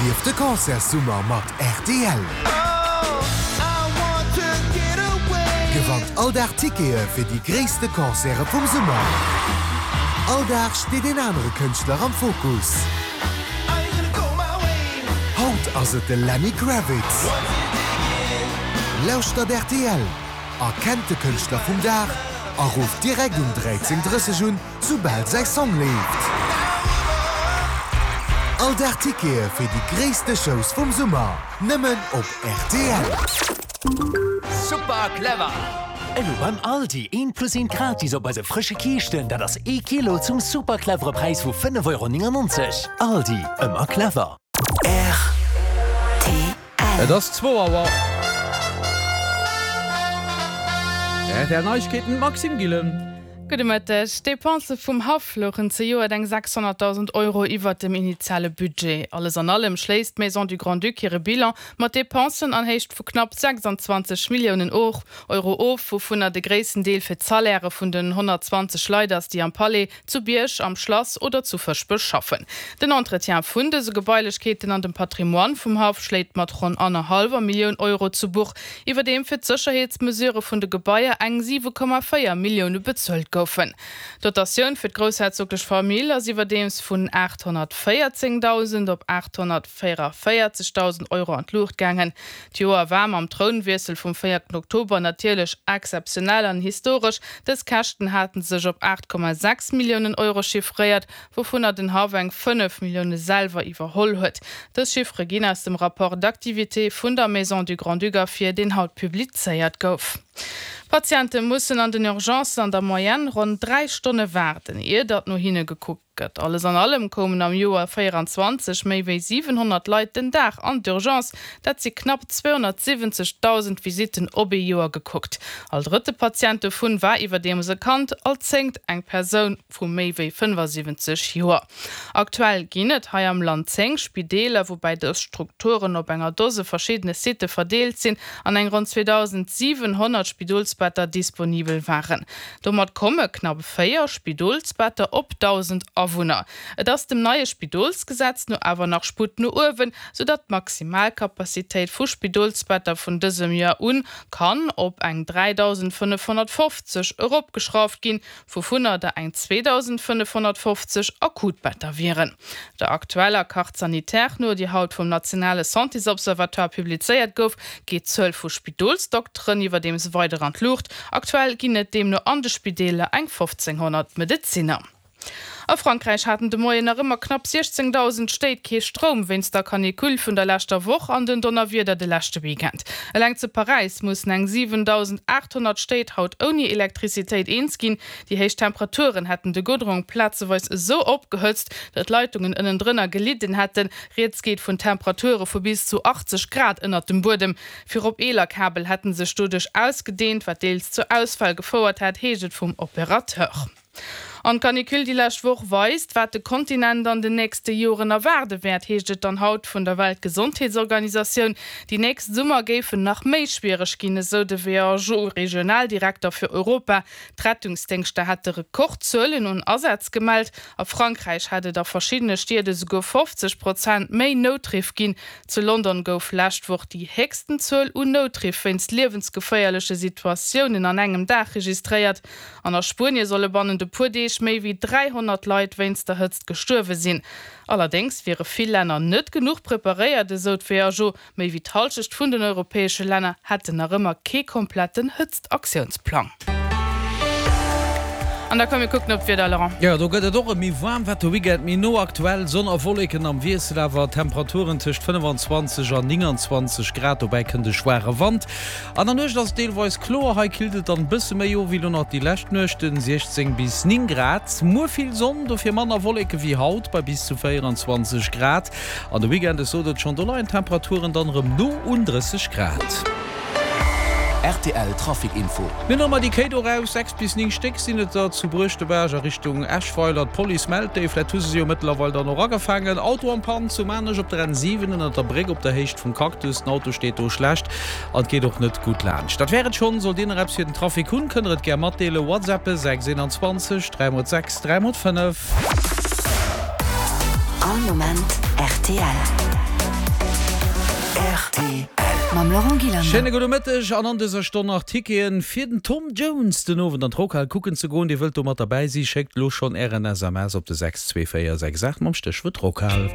Erlieft de Concertssummer mat rtl! Gewannt all Dag Tickete fir déi gréisste Concerte vum Summer! All Dag steet een anere Kënschtler am Fokus. Haut ass et de Lenny Kravitz. Lauschtert rtl, erkennt de Kënschtler vum Dag a rufft direkt um 13:30 un, soubal säi Song leeft. All Dag Tickete fir déi gréisste Shows vum Summer, nëmmen op rtl. Super clever! Elo beim Aldi, eent plus eent gratis op eise frësche Kiischten, dat ass ee Kilo zum super clevere Präis vu 5,99 Euro. Aldi, ëmmer clever. Rtl. Et ass zwou Auer. Rtl Neiegkeeten, Maxime Gillen. Gudde Mëtteg. D'Depensë vum Haff louchen zejoert eng 600.000 Euro iwwert dem initiale Budget. Alles an allem schléisst d'Maison du Grand-Duc hire Bilan mat Depensen an Héicht vu knapp 26 Milliounen Euro of, wouvunner de gréissten Deel fir d'Salairë vun den 120 Leit ass, déi am Palais, zu Bierg, am Schlass oder zu Fëschbech schaffen. Den Entretien vun dëse Gebailechkeeten an dem Patrimoine vum Haff schléit mat ronn annerhallwer Millioun Euro zu Buch, iwwerdeem fir d'Sécherheetsmesurë vun de Gebaier eng 7,4 Millioune bezuelt goufen. D'Dotatioun fir d'groussherzoglech Famill ass iwwerdeems vun 814.000 op 844.000 Euro an d'Luucht gaangen. D'Joer war mam Trounwiessel vum véierten Oktober natierlech exzeptionell an historesch. Dës Käschten haten sech op 8,6 Milliounen Euro chiffréiert, wouvunner den Haff eng 5 Millioune selwer iwwerholl huet. Dës Chiffere ginn aus dem Rapport d'activité vun der Maison du Grand-Duc ervir, deen haut publizéiert gouf. Patiente mussen an den Urgencen an der Moyenne ronn 3 Stonne waarden, ier datt no hinne gekuckt gëtt. Alles an allem koumen am Joer 24 méi wéi 700 Leit den Dag an d'Urgence, dat si knapp 270.000 Visitten op ee Joer gekuckt. All drëtte Patient dovun war iwwerdeems e Kand, all zéngt eng Persoun vu méi wéi 75 Joer. Aktuell ginn et hei am Land 10 Spideeler, woubäi dës Strukturen op enger Dose verschiddene Sitte verdeelt sinn an eng ronn 2.700 Spidolsbetter disponibel waren. Domat komme knapp 4 Spidolsbetter op 1.000 Awunner. Et ass dem neie Spidolsgesetz no awer nach Sputt no uewen, soudatt d'Maximalcapacitéit vu Spidolsbetter vun dësem Joer un kann op eng 3.550 eropgeschrauft ginn, wouvunner der eng 2.550 Akutbetter wieren. Der aktueller Carte sanitaire no, déi haut vum nationale Santésobservatoire publizéiert gouf, geet d'Zuel vu Spidolsdokteren iwwerdeems weider an d'Luucht. Aktuell ginn et deemno an de Spideeler eng 1.500 Medezinner. A Frankräich haten de Moien nach ëmmer knapp 16.000 Stéit kee Stroum wéinst der Canicule vun der leschter Woch an den Donnerwieder de leschte Weekend. Eleng zu Paräis mussen eng 7.800 Stéit haut ouni Elektrizitéit eens ginn. Déi héich Temperaturen hätten de Goudrong plazeweis esou opgehëtzt, datt d'Leitungen ënnendrënner gelidden hätten. Rieds geet vun Temperature vu bis zu 80 Grad ënnert dem Buedem. Virop eeler Kabel hätte sech doduerch ausgedeent, wat deels zu Ausfäll gefouert hätt, heescht et vum Opérateur. An d'Canicule déi lescht Woch weist, wat de Kontinent an den nächste Joren erwaarde wäert, heescht et dann haut vun der Weltgesondheetsorganisatioun. Déi nächst Summer géifen nach méi schwiereg ginn, esou de WHO-Regionaldirekter fir Europa. D'Rettungsdéngschter hätte Rekordzuelen un Asätz gemellt. A Frankräich hätt et a verschiddene Stied esouguer 50 Prozent méi Noutriff ginn. Zu London gouf lescht Woch déi héchsten Zuel un Noutriff wéinst liewensgeféierleche Situatiounen an engem Dag registréiert. An a Spuenie solle bannent e puer Deeg méi wéi 300 Leit wéinst der Hëtzt gestuerwe sinn. Allerdéngs wiere vill Länner net genuch preparéiert, esou d'WHO. Méi wéi d'Hallschecht vun den europäesche Länner hätten nach ëmmer kee kompletten Hëtztaktiounsplang. An da komm mir kucken op d'Wieder, Laurent. Jo, do gëtt et och erëm méi waarm, wat de Weekend méi no. Aktuell Sonn a Wolleken am Wiessel, awer Temperaturen tëscht 25 an 29 Grad. Dobäi kënnt e schwaache Wand. An der Nuecht ass et deelweis kloer, hei killt et dann e bësse méi of wéi lo nach déi lescht Nuechten, 16 bis 9 Grad. Muer vill Sonn, dofir manner Wolleke wéi haut bei bis zu 24 Grad. An de Weekend, ech sot et schonn, do leien d'Temperaturen dann erëm no un 30 Grad. Rtl Trafic Info. Mir hunn nach emol déi Kéi do raus, 6 bis 9 Stéck sinn et der zu Bruechtebaarg a Richtung Eschweiler. D'Police mellt déi, vläit hu se se jo mëttlerweil dann och agefaangen. Auto am Pann zu Maarnech op der N7 ënnert der Bréck op der Héicht vum Cactus. Den Auto steet do schlecht. An et geet och net gutt laanscht. Dat wär et schonn. Sollt Dir nach eppes fir den Trafic hunn, kënnt der et gär matdeelen. Whatsappe 6 21 3 x 6 3 x 5. All Moment rtl. Rtl. Mam Laurent Gillander. Schéine gudde Mëtteg an an dëser Stonn nach Ticketen fir den Tom Jones den Owend an d'Rockhal kucken ze goen. Dir wëllt do mat derbäi si, schéckt elo schonn ären SMS op de 62468 mam Stéchwuert Rockhal.